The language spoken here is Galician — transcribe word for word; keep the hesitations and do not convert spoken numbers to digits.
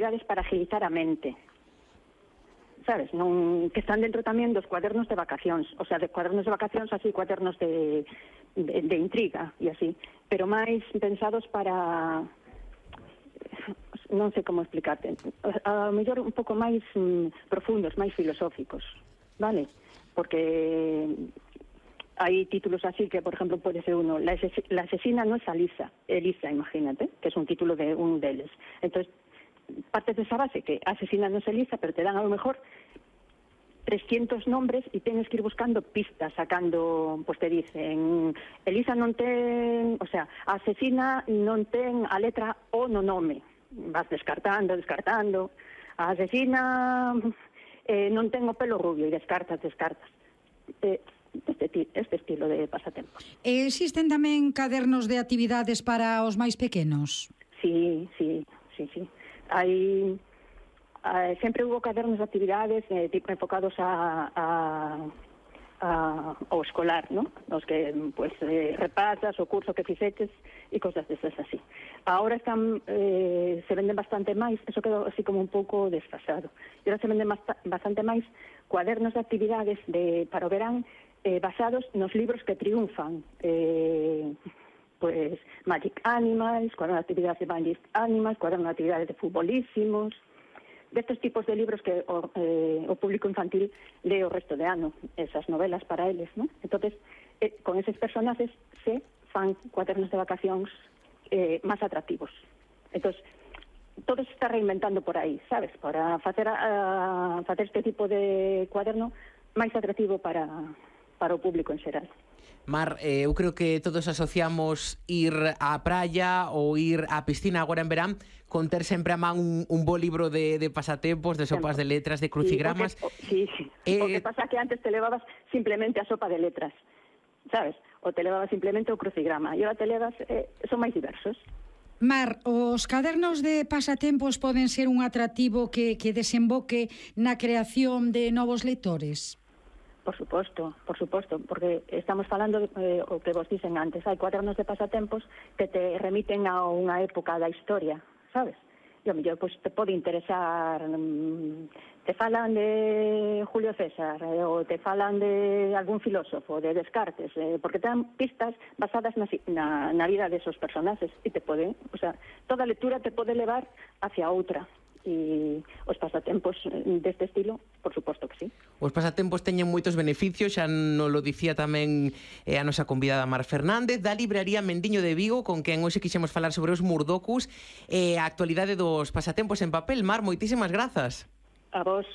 actividades para agilizar a mente, sabes, non, que están dentro tamén dos cuadernos de vacacións, o sea, de cuadernos de vacacións, así, cuadernos de, de, de intriga e así, pero máis pensados para, non sei como explicarte, a, a mellor un pouco máis mm, profundos, máis filosóficos, vale? Porque hai títulos así que, por ejemplo, pode ser uno, la, ases la asesina no es Elisa, Elisa, imagínate, que es un título de un deles. Entonces, partes de esa base que asesina no es Elisa, pero te dan a lo mejor trescientos nombres y tienes que ir buscando pistas, sacando, pues te dicen, Elisa non ten, o sea, a asesina non ten a letra O no nome, vas descartando, descartando, a asesina eh, non ten o pelo rubio e descartas, descartas. Eh, este, este estilo de pasatempos. Existen tamén cadernos de actividades para os máis pequenos? Sí, sí, sí, sí. Hai, hai sempre hubo cadernos de actividades eh, tipo enfocados a, a, a ao escolar, ¿no? Os que pues eh, repasas o curso que fixeches e cosas desas así. Ahora están eh, se venden bastante máis, eso quedou así como un pouco desfasado. E ahora se venden bastante máis cuadernos de actividades de para o verán eh, basados nos libros que triunfan. Eh, pues Magic Animals, cuaderno de actividades de Magic Animals, cuaderno de actividades de futbolísimos, de estos tipos de libros que o, eh, o público infantil lee o resto de ano, esas novelas para eles, ¿no? Entonces, eh, con esos personajes se fan cuadernos de vacacións eh, máis atractivos. Entonces, todo se está reinventando por aí, sabes? Para facer, a, facer este tipo de cuaderno máis atractivo para, para o público en xeral. Mar, eh, eu creo que todos asociamos ir á praia ou ir á piscina agora en verán con ter sempre a man un, un bo libro de, de pasatempos, de sopas de letras, de crucigramas. Sí, sí, sí. Eh, o que pasa que antes te levabas simplemente a sopa de letras, sabes? O te levabas simplemente o crucigrama e agora te levas, eh, son máis diversos. Mar, os cadernos de pasatempos poden ser un atractivo que, que desemboque na creación de novos lectores? Por suposto, por suposto, porque estamos falando de, eh, o que vos dicen antes, hai cuadernos de pasatempos que te remiten a unha época da historia, sabes? E ao mellor, pois, te pode interesar, mmm, te falan de Julio César, eh, ou te falan de algún filósofo, de Descartes, eh, porque te dan pistas basadas na, na, na vida de esos personajes, e te pode, o sea, toda lectura te pode levar hacia outra. E os pasatempos deste estilo, por suposto que sí. Os pasatempos teñen moitos beneficios, xa nos lo dicía tamén eh, a nosa convidada Mar Fernández, da libraría Mendiño de Vigo, con quen hoxe quixemos falar sobre os murdocus e eh, a actualidade dos pasatempos en papel. Mar, moitísimas grazas. A vos.